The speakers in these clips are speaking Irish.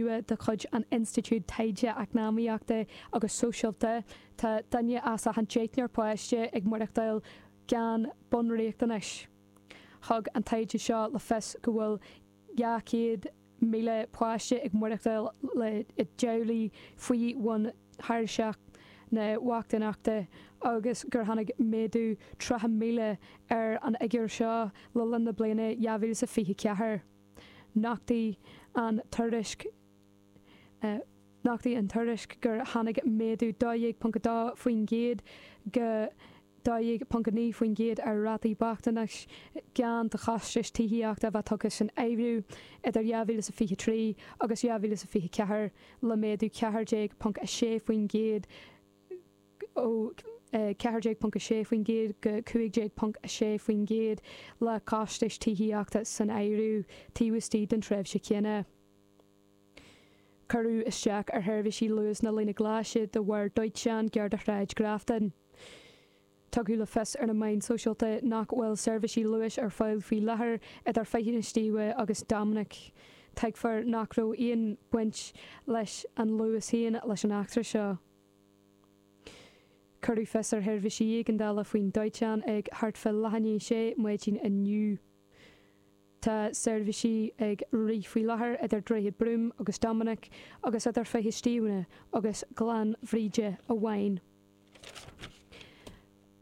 nua de chuid an Institiúid Taighde Eacnamaíochta agus Sóisialta, tá duine as achan deichniúr páiste ag maireachtáil gan bunriachtanais. Thug an taighde seo le fios go bhfuil 200,000 páiste ag maireachtáil i dteaghlaigh faoi bhun thairseach na bochtaineachta agus gur tháinig méadú 30,000 ar an fhigiúr seo le linn na bliana 2024. Nochtaigh an tuairisc Nochtaigh an tuairisc gur tháinig méadú 12.2% go 12.9% ar rátaí bochtanais gan do chostais tithíochta a bheith tugtha san áireamh idir 2023 agus 2024, le méadú 14.6% ó 14.6% go 15.6% le costais tithíochta san áireamh taobh istigh den tréimhse chéanna. Cuireadh isteach ar sheirbhísí Luas na Líne Glaise de bharr dóiteáin gar do Shráid Grafton. Tugadh le fios ar na meáin sóisialta nach bhfuil seirbhísí Luais ar fáil faoi láthair idir Faiche na Stíobha agus Dominic. Tuigfear nach raibh aon bhaint leis an Luas féin leis an eachtra seo. Cuireadh fios ar sheirbhísí éigeandála faoin dóiteán ag thart fá leath i ndiaidh a sé maidin inniu. Tá seirbhísí ag rith faoi láthair idir Droichead Broome agus Dominic agus idir Faiche Stiabhna agus Gleann Bhríde amháin.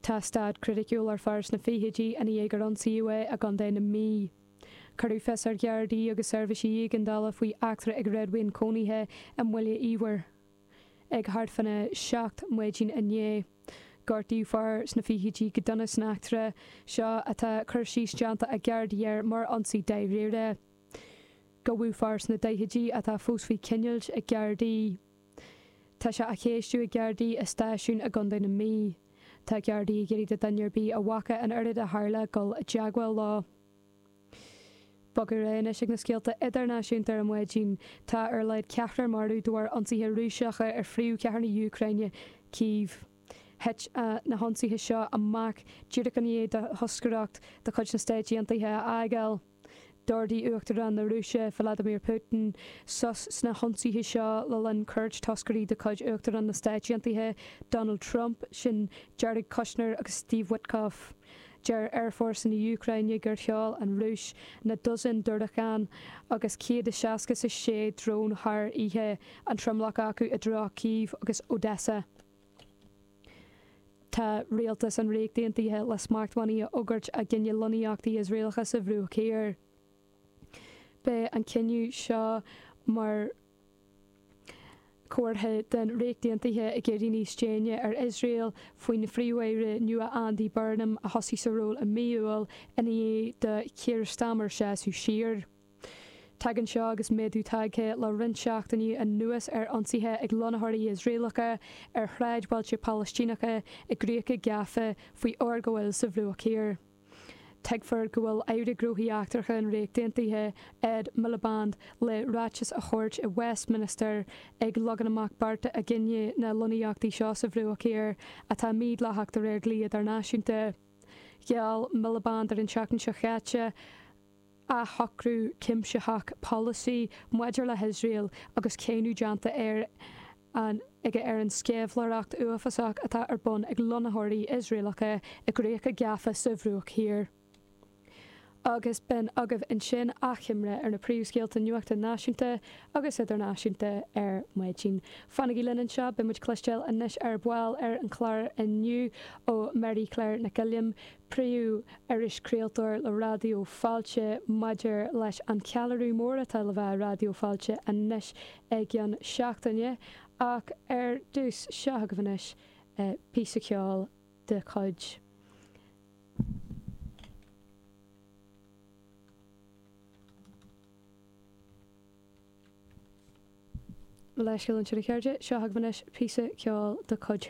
Tá staid chriticiúil ar fear sna fichidí i ndiaidh gur ionsaíodh é i gContae na Mí. Cuireadh fios ar Ghardaí agus seirbhísí éigeandála faoi eachtra ag réadmhaoin cónaithe i mBaile Íomhair. Ag thart fána 7 maidin inné, gortaíodh fear sna fichidí go dona san eachtra seo atá cur síos déanta ag Gardaí air mar ionsaí dáiríre. Gabhadh fear sna daichidí atá fós faoi choinneáil ag Gardaí. Tá sé á cheistiú ag Gardaí i stáisiún i gContae na Mí. Tá Gardaí ag iarraidh do dhuine ar bith a bhfaca an rud a tharla dul i dteagmháil leo. Bogadh ar aghaidh anois ag na scéalta idirnáisiúnta ar maidin. Tá ar a laghad ceathrar marbh de bharr ionsaithe Rúiseacha ar phríomhchathair na hÚcráine, Cív. Thit na hionsaithe seo amach díreach i ndiaidh do thoscaireacht de chuid na Stáit Aontaithe a fhágáil. D'ordaigh Uachtarán na Rúise, Vladimir Putin, sos sna hionsaithe seo le linn cuairt toscairí de chuid Uachtarán na Stáit Aontaithe, Donald Trump, sin Jared Kushner agus Steve Witkoff. Deir Aerfhórsa na hÚcráine gur sheol an Rúis na dosaen diúracán agus 166 drón thar oíche, an tromlach acu i dtreo Kyiv agus Odesa. Tá rialtas an Ríocht Aontaithe le smachtbhannaí a fhógairt i gcoinne lonnaíochtaí Iosraelacha sa Bhruach Thiar. Beidh an cinneadh seo mar chomhartha den Ríocht Aontaithe ag éirí níos déine ar Iosrael faoin Phríomh-Aire nua Andy Burnham a thosaigh sa ról i mí Iúil i ndiaidh do Keir Starmer seasamh siar. Tagann seo agus méadú tagtha le roinnt seachtainí anuas ar ionsaithe ag lonnaitheoirí Iosraelacha ar shráidbhailte Palaistíneacha i gcríocha gafa faoi fhorghabháil sa Bhruach Thiar. Tuigfear go bhfuil Aire Gnóthaí Eachtracha an Ríocht Aontaithe, Ed Miliband, le ráiteas a thabhairt i Westminster ag leagan amach bearta i gcoinne na lonnaíochtaí seo sa Bhruach Thiar, atá mídhleathach de réir dlí idirnáisiúnta. Gheall Miliband ar an tseachtain seo chaite athshocrú cuimsitheach polasaí maidir le hIosrael agus cáineadh déanta air aige ar an sceimhlitheoireacht uafásach atá ar bun ag lonnaitheoirí Iosraelacha i gcríocha gafa sa Bhruach Thiar. Agus b'in agaibh ansin achoimre ar na príomhscéalta nuachta náisiúnta agus idirnáisiúnta ar maidin. Fanaigí linn anseo, beidh muid ag cloisteáil anois ar ball ar an chlár inniu ó Mary Claire Nic Uilliam, Príomh-Irischraoltóir le Raidió Fáilte maidir leis an cheiliúradh mór atá le bheith i Raidió Fáilte anois i gceann seachtaine. Ach ar dtús, seo agaibh anois píosa ceoil de chuid. Mo leithscéal ansin a chairde, seo agaibh anois píosa ceoil de chuid.